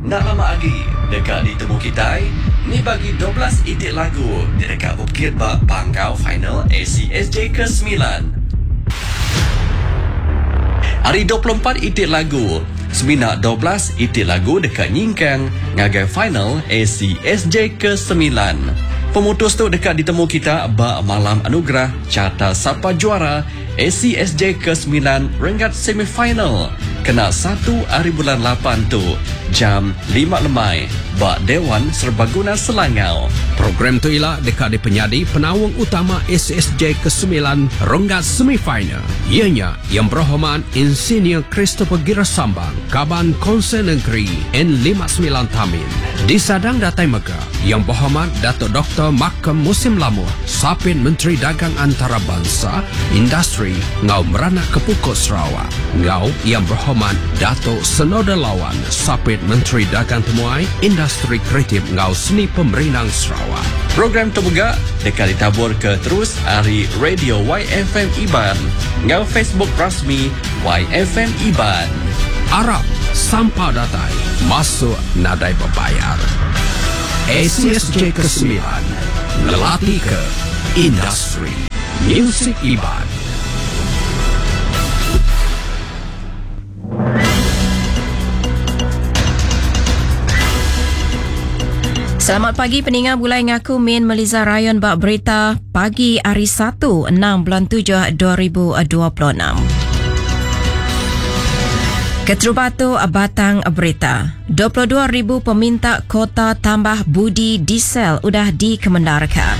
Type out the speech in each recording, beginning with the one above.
Enda lama agi deka ditemu kitai ni bagi 12 iti lagu ti deka bepekit ba panggau final ACSJ ke semilan. Ari 24 iti lagu, semina 12 iti lagu deka nyingkang ngagai final ACSJ ke semilan. Pemutus tu deka ditemu kita ba Malam Anugerah Carta Sapa Juara ACSJ ke semilan renggat semifinal kena satu ari bulan lapan tu jam lima lemai ba Dewan Serbaguna Selangau. Program tu ila deka dipenyadi penaung utama ACSJ ke semilan renggat semifinal iya nya Yang Berhormat Insinyur Christopher Gira Sambang, Kaban Konsel Negeri N59 Tamin. Disadang datai mega Yang Berhormat Datuk Doktor Malcolm Musim Lamoh, Sapit Menteri Dagang Antarabansa, Industri enggau Meranak ke Pukuk Sarawak enggau Yang Berhormat Datuk Senoda Lawan, Sapit Menteri Dagang Temuai, Industri Kreatif enggau Seni Pemerindang Sarawak. Program tu mega deka ditaburka terus ari Radio YFM Iban enggau Facebook rasmi YFM Iban. Arap sampal datai masuk nadai bebayar. ACSJ Kesemilan ngelatika industri musik Iban. Selamat pagi peninga bulai ngaku Min Meliza Rayon ba berita pagi hari 1 6 bulan 7 2026. Keterubah tu batang berita. 22,000 peminta kota tambah budi diesel udah dikemendarka.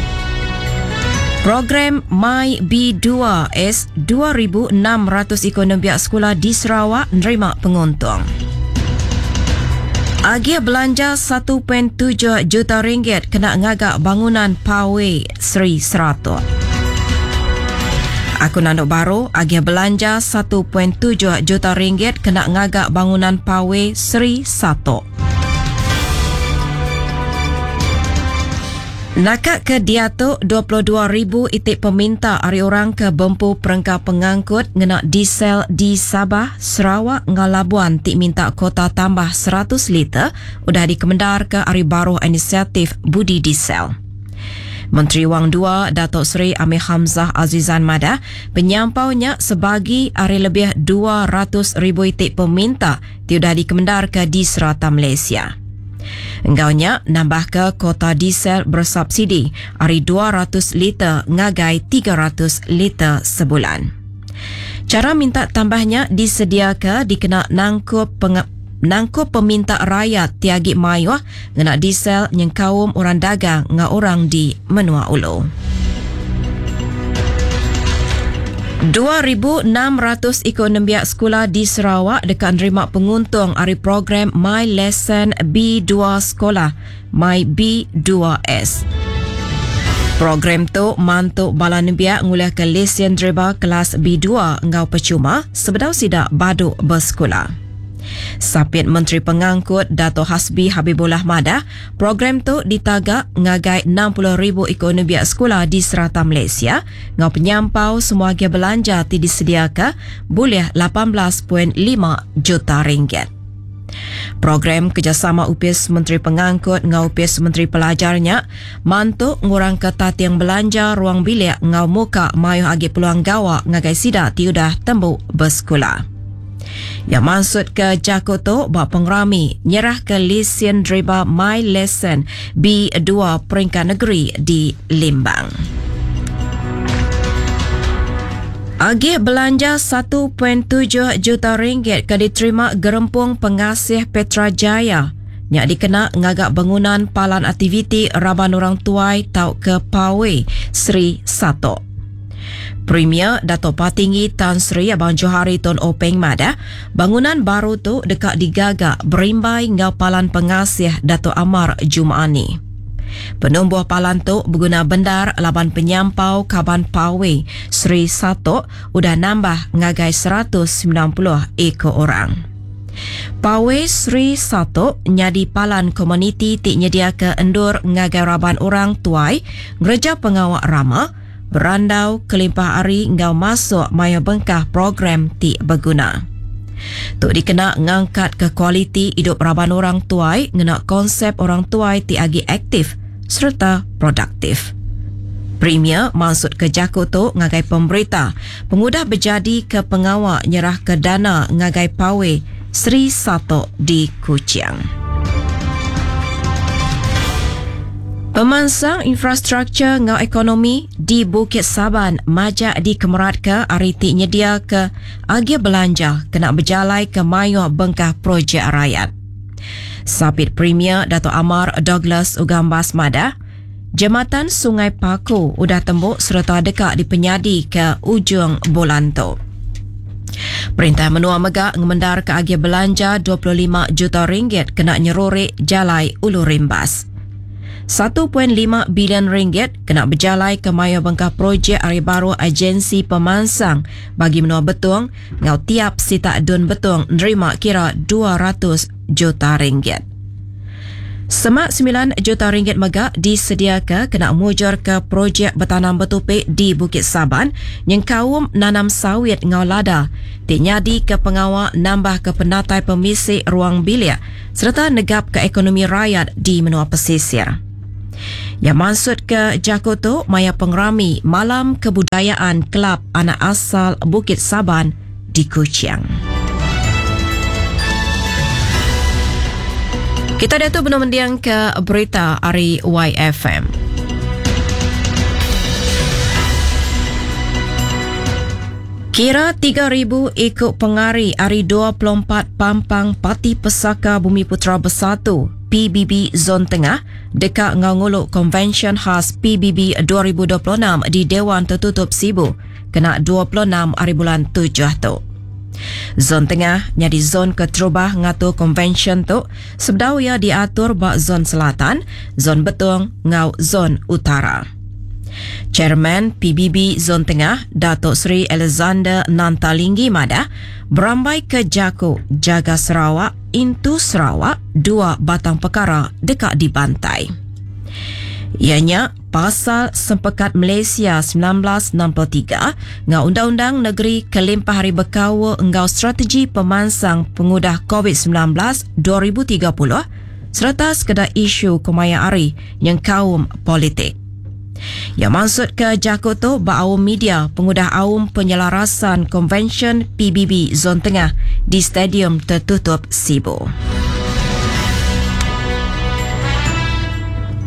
Program My B2S 2,600 iku nembiak sekula di Sarawak nerima penguntung. Agih belanja 1.7 juta ringgit kena ngaga bangunan Pawe Seri Seratok. Aku nandu baru, agih belanja 1.7 juta ringgit kena ngaga bangunan Pawe Seri Satok. Naka ke diatu, 22,000 iti peminta ari orang ke bempu perengka pengangkut ngena diesel di Sabah, Sarawak enggau Labuan ti minta kuota tambah 100 liter udah dikemendarka ari baruh inisiatif Budi Diesel. Menteri Wang Dua Datuk Seri Amir Hamzah Azizan madah, penyampau nya sebagi ari lebih 200,000 iti peminta ti udah dikemendarka di serata Malaysia. Enggau nya, nambahka kuota diesel bersubsidi ari 200 liter ngagai 300 liter sebulan. Chara minta tambah nya disediaka dikena nangkup nangkup peminta rayat ti agi mayuh ngena diesel nyengkaum orang dagang enggau orang di menua ulu. 2,600 iku nembiak sekula di Sarawak deka nerima penguntung ari program My Lesson B2 Sekolah, My B2S. Program tu mantu bala nembiak ngulihka lesen deriba kelas B2 enggau pechuma sebedau sida badu besekula. Sapit Menteri Pengangkut Dato Hasbi Habibollah madah, program tu ditaga ngagai 60,000 iku nembiak sekula di serata Malaysia enggau penyampau semua agih belanja ti disediaka bulih 18.5 juta ringgit. Program kerejasama Opis Menteri Pengangkut enggau Opis Menteri Pelajar nya mantu ngurangka tating belanja ruang bilik enggau muka mayuh agi peluang gawa ngagai sida ti udah tembu besekula. Iya mansutka jaku tu ba pengerami nyerahka lisin deriba My Lesson B2 peringkat negeri di Limbang. Agih belanja 1.7 juta ringgit ke diterima Gerempung Pengasih Petra Jaya nya dikena ngaga bangunan palan aktiviti raban orang tuai tauka Pawe Sri Satok. Premier Datuk Patinggi Tan Sri Abang Johari Tun Openg madah, bangunan baru tu deka digaga berimbai enggau Palan Pengasih Datuk Amar Juma'ani. Penumbuh palan tu beguna bendar laban penyampau kaban Pawe Sri Satok udah nambah ngagai 190 iku orang. Pawe Sri Satok nyadi palan komuniti ti nyediaka endur ngagai raban orang tuai ngereja pengawa rama, berandau kelimpah ari enggau masuk mayuh bengkah program ti beguna. Tu dikena ngangkatka kualiti idup raban orang tuai ngena konsep orang tuai ti agi aktif sereta produktif. Premier mansutka jaku tu ngagai pemberita pengudah bejadika pengawa nyerahka dana ngagai Pawe Sri Satok di Kuching. Pemansang infrastruktur enggau ekonomi di Bukit Saban majak dikemeratka ari ti nyediaka agih belanja kena bejalaika mayuh bengkah projek rayat. Sapit Premier Datuk Amar Douglas Ugambas madah, Jematan Sungai Paku udah tembu sereta deka dipenyadika ujung bulan tu. Perintah menua mega ngemendarka agih belanja 25 juta ringgit kena nyeruri Jalai Ulu Rimbas. 1.5 bilion ringgit kena bejalaika mayuh bengkah projek ari baruh Agensi Pemansang Bagi Menua Betong enggau tiap sitak Dun Betong nerima kira 200 juta ringgit. Semak semilan juta ringgit mega disediaka kena mujurka projek betanam betupi di Bukit Saban nyengkaum nanam sawit enggau lada ti nyadika pengawa nambahka penatai pemisi ruang bilik sereta negapka ekonomi rayat di menua pesisir. Iya mansutka jaku tu maya pengerami Malam Kebudayaan Kelab Anak Asal Bukit Saban di Kuching. Kita diatu benung mendingka berita ari YFM. Kira 3,000 iku pengari ari 24 pampang Parti Pesaka Bumiputera Bersatu, PBB Zon Tengah, deka enggau ngulu Konvensyen Khas PBB 2026 di Dewan Tertutup Sibu kena 26 hari bulan tujuh tu. Zon Tengah nyadi zon keterubah ngatur konvensyen tu sebedau iya diatur ba Zon Selatan, Zon Betong enggau Zon Utara. Chairman PBB Zon Tengah, Dato Sri Alexander Nanta Linggi madah, berambai ke jaku Jaga Sarawak, Intu Sarawak, dua batang pekara deka dibantai. Iya nya, pasal Sempekat Malaysia 1963 enggau Undang-Undang Negeri kelimpah ari bekaul enggau strategi pemansang pengudah Covid 19 2030 sereta sekeda isu kemaya hari nyengkaum politik. Iya mansutka jaku tu ba aum media pengudah aum penyelarasan Konvensyen PBB Zon Tengah di Stadium Tertutup Sibu.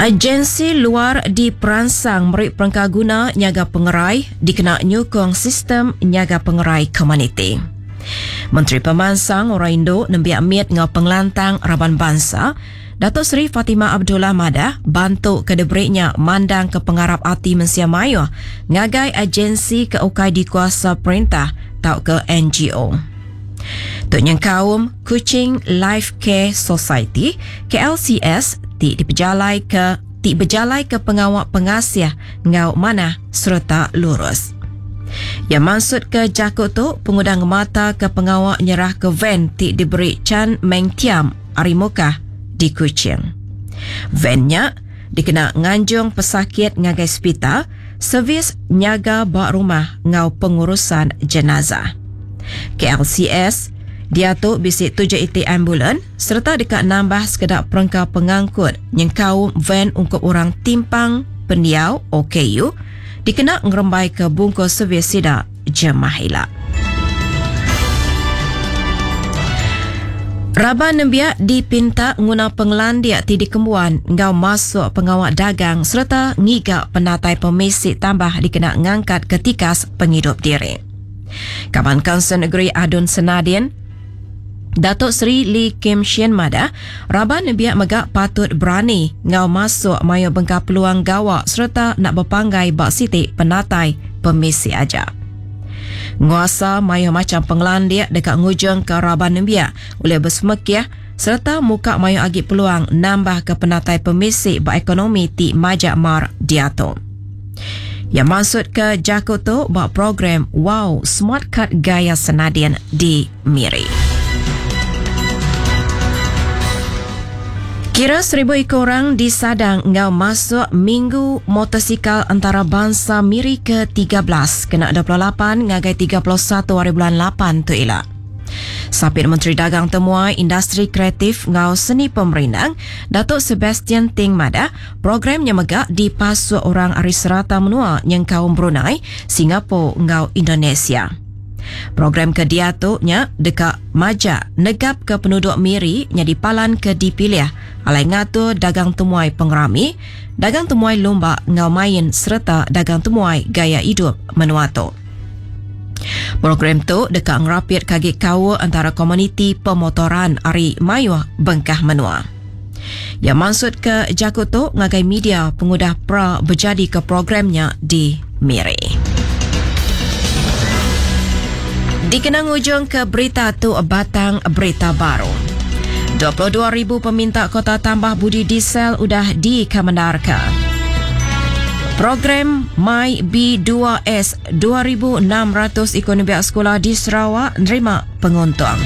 Agensi luar diperansang meri perengkaguna nyaga pengerai dikena nyukung sistem nyaga pengerai komuniti. Menteri Pemansang Orang Indu, Nembiak Mit enggau Pengelantang Raban Bansa, Datuk Seri Fatimah Abdullah madah bantu ke diberi nya mandangka pengarap ati mensia mayuh ngagai agensi ke ukai dikuasa perintah tauka NGO. Tu nyengkaum Kuching Life Care Society, KLCS, ti dipejalaika ti bejalaika pengawa pengasih enggau manah sereta lurus. Iya mansutka jaku tu pengudah ngemataka pengawa nyerahka van ti diberi Chan Meng Thiam ari Mukah di Kuching. Van nya dikena nganjung pesakit ngagai sepital, servis nyaga ba rumah enggau pengurusan jenazah. KLCS diatu bisi tujuh iti ambulan sereta deka nambah sekeda perengka pengangkut nyengkaum van ungkup orang timpang pendiau, OKU, dikena ngerembaika bungkus servis sida jemah ila. Raban nembiak dipinta nguna pengelandik ti dikembuan enggau masuk pengawa dagang sereta ngiga penatai pemisi tambah dikena ngangkatka tikas pengidup diri. Kaban Kaunsil Negeri Adun Senadin, Datuk Seri Lee Kim Shin madah, raban nembiak mega patut berani enggau masuk mayuh bengkah peluang gawa sereta enda bepanggai ba siti penatai pemisi aja. Nguasa mayuh macham pengelandik deka ngujungka raban nembiak ulih besemekih sereta muka mayuh agi peluang nambahka penatai pemisi ba ekonomi ti majak mar diatu. Iya mansutka jaku tu ba program Wow Smart Card Gaya Senadin di Miri. Kira seribu iku orang disadang enggau masuk Minggu Motosikal Entarabansa Miri ke 13 kena 28 ngagai 31 hari bulan lapan tu ila. Sapit Menteri Dagang Temuai, Industri Kreatif enggau Seni Pemerindang, Datuk Sebastian Ting madah, program nya mega dipasuk orang ari serata menua nyengkaum Brunei, Singapore enggau Indonesia. Program ke diatu nya deka majak negapka penuduk Miri nyadi palan ke dipilih alai ngatur dagang temuai pengerami, dagang temuai lumba enggau main sereta dagang temuai gaya idup menua tu. Program tu deka ngerapitka agi kaul entara komuniti pemotoran ari mayuh bengkah menua. Iya mansutka jaku tu ngagai media pengudah pra bejadika program nya di Miri. Dikena ngujungka berita tu batang berita baru. 22,000 peminta kota tambah budi diesel udah dikemendarka. Program My B2S 2,600 iku nembiak sekula di Sarawak nerima penguntung.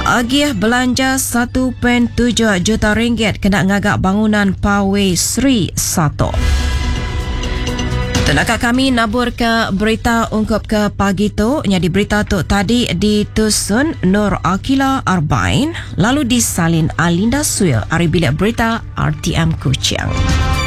Agih belanja 1.7 juta ringgit kena ngaga bangunan Pawai Sri Satok. Tenaka kami nabur ke berita ungkup ke pagi tu nyadi berita tu tadi ditusun Nur Akila Arbain lalu disalin Alinda Suil ari bilik berita RTM Kuching.